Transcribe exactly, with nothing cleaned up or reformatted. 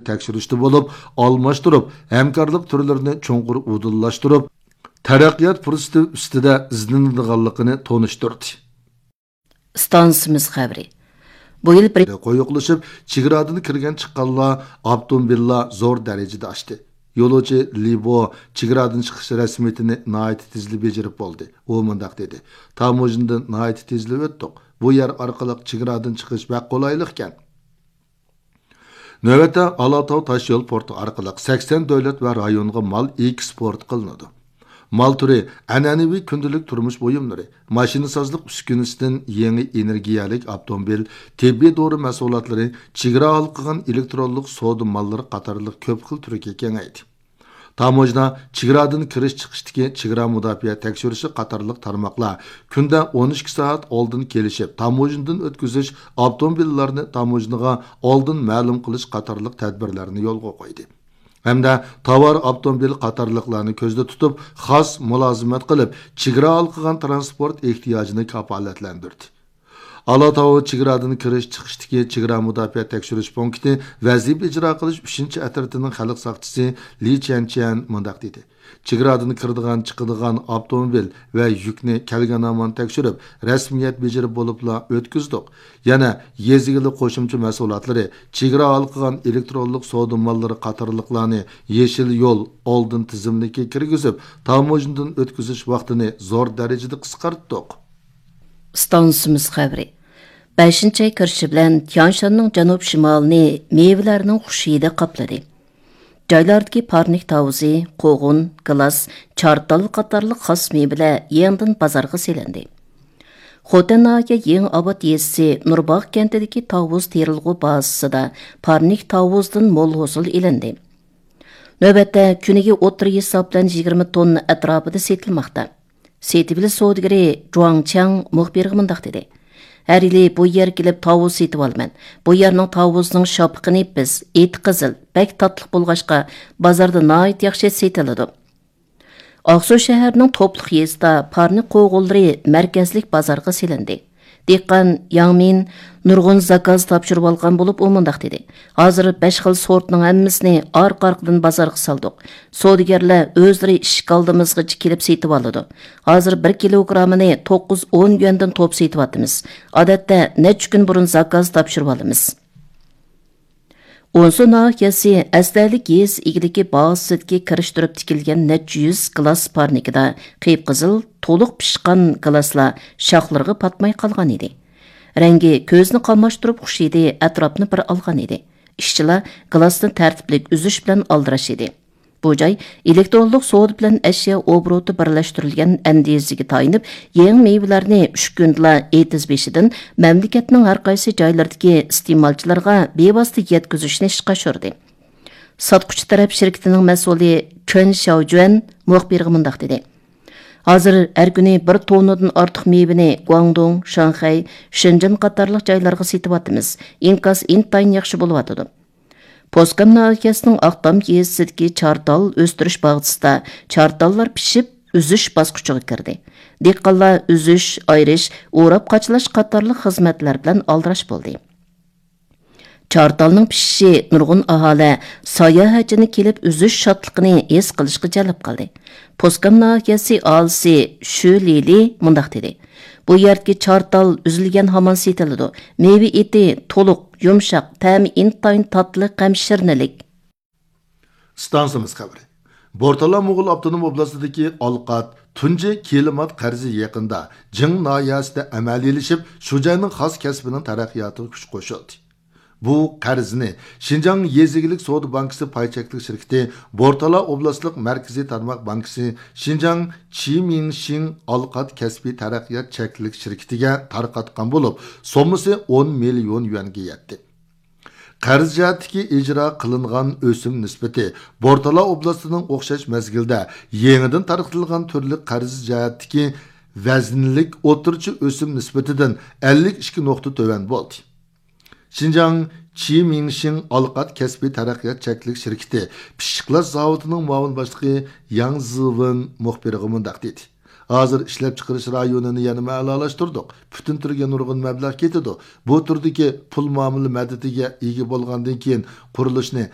تەكشۈرۈشتە بولۇپ، ئالماشتۇرۇپ، ھەمكارلىق تۈرلىرىنى چوڭقۇر ئۇدۇللاشتۇرۇپ، تەرەققىيات پۇرسىتى ئۈستىدە ئىزدىنىدىغانلىقىنى تونۇشتۇردى. ئىستانسىمىز خەۋىرى. بۇ يىل بىر قويۇقلىشىپ، چېگرادىن كىرگەن چىققانلار، ئاپتوموبىللار زور دەرىجىدە ئاشتى. يولۇچى لىبو چېگرادىن چىقىش رەسمىيىتىنى ناھايىتى تېزلا بېجىرىپ بولدى. ئۇ مۇنداق دېدى: تاموژنىدىن ناھايىتى تېزلا ئۆتتۇق. بۇ يەر ئارقىلىق چېگرادىن چىقىش بەك قولايلىقكەن. نۆۋەتتە ئالاتاۋ تاشيول پورتى ئارقىلىق سەكسەن دۆلەت ۋە رايونغا مال ئېكسپورت قىلىنىدۇ. مال تۈرى ئەنئەنىۋى كۈندىلىك تۇرمۇش بۇيۇملىرى، ماشىنىسازلىق ئۈسكۈنىسىدىن يېڭى ئېنېرگىيەلىك ئاپتوموبىل، تېببىي دورا مەھسۇلاتلىرى، چېگرا ھالقىغان ئېلېكترونلۇق سودا ماللىرى قاتارلىق كۆپ خىل تۈرگە كېڭەيدى. تاموژنا چېگرادىن كىرىش چىقىشتىكى چېگرا مۇداپىئە تەكشۈرۈشى قاتارلىق تارماقلار كۈندە ئون ئىككى سائەت ئالدىن كېلىشىپ، تاموژنىدىن ئۆتكۈزۈش، ئاپتوموبىللارنى تاموژنىغا ئالدىن مەلۇم قىلىش قاتارلىق تەدبىرلەرنى يولغا قويدى. ھەمدە تاۋار، ئاپتوموبىل قاتارلىقلارنى كۆزدە تۇتۇپ، خاس مۇلازىمەت قىلىپ، چېگرا ھالقىغان تىرانسپورت ئېھتىياجىنى كاپالەتلەندۈردى. ئالاتاۋ چېگرادىن كىرىش چىقىشتىكى چېگرا مۇداپىئە تەكشۈرۈش پونكىتى ۋەزىپە ئىجرا قىلىش ئۈچىنچى ئەترىتىنىڭ خەلق ساقچىسى لى چيەنچيەن مۇنداق دېدى: چېگرادىن كىرىدىغان، چىقىدىغان ئاپتوموبىل ۋە يۈكنى كەلگەن ھامان تەكشۈرۈپ، رەسمىيەت بېجىرىپ بولۇپلا ئۆتكۈزدۇق. يەنە يېزا ئىگىلىك قوشۇمچە مەھسۇلاتلىرى، چېگرا ھالقىغان ئېلېكترونلۇق سودا ماللىرى قاتارلىقلارنى يېشىل يول ئالدىن تىزىملىكىگە كىرگۈزۈپ، تاموژنىدىن ئۆتكۈزۈش ۋاقتىنى زور دەرىجىدە قىسقارتتۇق. ئىستانسىمىز خەۋىرى. بەشىنچى ئاي كىرىشى بىلەن تيانشاننىڭ جەنۇب شىمالىنى مېۋىلەرنىڭ خۇش ھىدى قاپلىدى. جايلاردىكى پارنىك تاۋۇزى، قوغۇن، گىلاس، چارتال قاتارلىق خاس مېۋىلەر يېڭىدىن بازارغا سېلىندى. خوتەن ناھىيە يېڭى ئاۋات يېزىسى نۇرباغ كەنتىدىكى تاۋۇز تېرىلغۇ بازىسىدا پارنىك تاۋۇزدىن مول ھوسۇل ئېلىندى. نۆۋەتتە كۈنىگە ئوتتۇرا ھېساب بىلەن يىگىرمە توننا ئەتراپىدا سېتىلماقتا. سېتىۋېلىش سودىگىرى جۇاڭ چياڭ مۇخبىرغا مۇنداق دېدى: ھەر يىلى بۇ يەرگە كېلىپ تاۋۇز سېتىۋالىمەن. بۇ يەرنىڭ تاۋۇزىنىڭ شاپىقى نېپىز، ئېتى قىزىل، بەك تاتلىق بولغاچقا، بازاردا ناھايىتى ياخشى سېتىلىدۇ. ئاقسۇ شەھىرىنىڭ توپلۇق يېزىسىدا پارنىك قوغۇنلىرى مەركەزلىك بازارغا سېلىندى. دېھقان ياڭ مىن نۇرغۇن زاكاز تاپشۇرۇۋالغان بولۇپ، ئۇ مۇنداق دېدى: ھازىر بەش خىل سورتنىڭ ھەممىسىنى ئارقا-ئارقىدىن بازارغا سالدۇق. سودىگەرلەر ئۆزلىرى ئىشىك ئالدىمىزغىچە كېلىپ سېتىۋالىدۇ. ھازىر بىر كىلوگرامىنى توققۇز ئون يۈەندىن توپ سېتىۋاتىمىز. ئادەتتە نەچچە كۈن بۇرۇن زاكاز تاپشۇرۇۋالىمىز. ئونسۇ ناھىيەسى ئەستەلىك يېزا ئىگىلىكى بازىسىدىكى كىرىشتۈرۈپ تىكىلگەن نەچچە يۈز گىلاس پارنىكىدا قىپقىزىل، تولۇق پىشقان گىلاسلار شاخلىرىغا پاتماي قالغان ئىدى. رەڭگى كۆزنى قاماشتۇرۇپ خۇش ھىدى ئەتراپنى بىر ئالغان ئىدى. ئىشچىلار گىلاسنى تەرتىپلىك ئۈزۈش بىلەن ئالدىراش ئىدى. بۇ جاي ئېلېكترونلۇق سودا بىلەن ئەشيا ئوبوروتى بىرلەشتۈرۈلگەن ئەندىزىگە تايىنىپ، يېڭى مېۋىلەرنى ئۈچ كۈندىلا ئېتىز بېشىدىن مەملىكەتنىڭ ھەر قايسى جايلىرىدىكى ئىستېمالچىلارغا بىۋاسىتە يەتكۈزۈشنى ئىشقا ئاشۇردى. ساتقۇچى تەرەپ شىركىتىنىڭ مەسئۇلى چۈەن شياۋجۈەن مۇخبىرغا مۇنداق دېدى: ھازىر ھەر كۈنى بىر توننىدىن ئارتۇق مېۋىنى گۇاڭدۇڭ، شاڭخەي، شېنجېن قاتارلىق جايلارغا سېتىۋاتىمىز. ئىنكاس ئىنتايىن ياخشى بولۇۋاتىدۇ. پوسكام ناھىيەسىنىڭ ئاقتام يېزىسىدىكى چارتال ئۆستۈرۈش باغچىسىدا چارتاللار پىشىپ، ئۈزۈش باسقۇچىغا كىردى. دېھقانلار ئۈزۈش، ئايرىش، ئوراپ قاچىلاش قاتارلىق خىزمەتلەر بىلەن ئالدىراش بولدى. چارتالنىڭ پىشىشى نۇرغۇن ئاھالە، ساياھەتچىنى كېلىپ ئۈزۈش شادلىقىنى ھېس قىلىشقا جەلپ قىلدى. پوسكام ناھىيەسى ئاھالىسى شۈ لىلى مۇنداق دېدى: بۇ يەردىكى چارتال ئۈزۈلگەن ھامان سېتىلىدۇ. مېۋە ئېتى تولۇق، يۇمشاق، تەمى ئىنتايىن تاتلىق ھەم شىرنىلىك. ئىستانسىمىز خەۋىرى. بورتالا موغۇل ئاپتونوم ئوبلاستىدىكى ئالقات تۇنجى كىلىمات قەرزى يېقىندا جىڭ ناھىيەسىدە ئەمەلىيلىشىپ، شۇ جاينىڭ خاس كەسپىنىڭ تەرەققىياتىغا كۈچ قوشۇلدى. بۇ قەرزنى شىنجاڭ يېزا ئىگىلىك سودا بانكىسى پاي چەكلىك شىركىتى، بورتالا ئوبلاستلىق مەركىزىي تارماق بانكىسى، شىنجاڭ چىمىڭشىڭ ئالقات كەسپىي تەرەققىيات چەكلىك شىركىتىگە تارقاتقان بولۇپ، سوممىسى ئون مىليون يۈەنگە يەتتى. قەرز جەھەتتىكى ئىجرا قىلىنغان ئۆسۈم نىسبىتى بورتالا ئوبلاستىنىڭ ئوخشاش مەزگىلدە يېڭىدىن تارقىتىلغان تۈرلۈك قەرز جەھەتتىكى ۋەزنىلىك ئوتتۇرىچە ئۆسۈم نىسبىتىدىن ئەللىك ئىككى نۇقتا تۆۋەن بولدى. شىنجاڭ چىمىڭشىڭ ئالقات كەسپىي تەرەققىيات چەكلىك شىركىتى پىششىقلاش زاۋۇتىنىڭ مۇئاۋىن باشلىقى ياڭ زىۋېن مۇخبىرغا مۇنداق دېدى: ھازىر ئىشلەپچىقىرىش رايونىنى يەنىمۇ ئەلالاشتۇردۇق. پۈتۈن تۈرگە نۇرغۇن مەبلەغ كېتىدۇ. بۇ تۈردىكى پۇل مۇئامىلە مەدىتىگە ئىگە بولغاندىن كېيىن، قۇرۇلۇشنى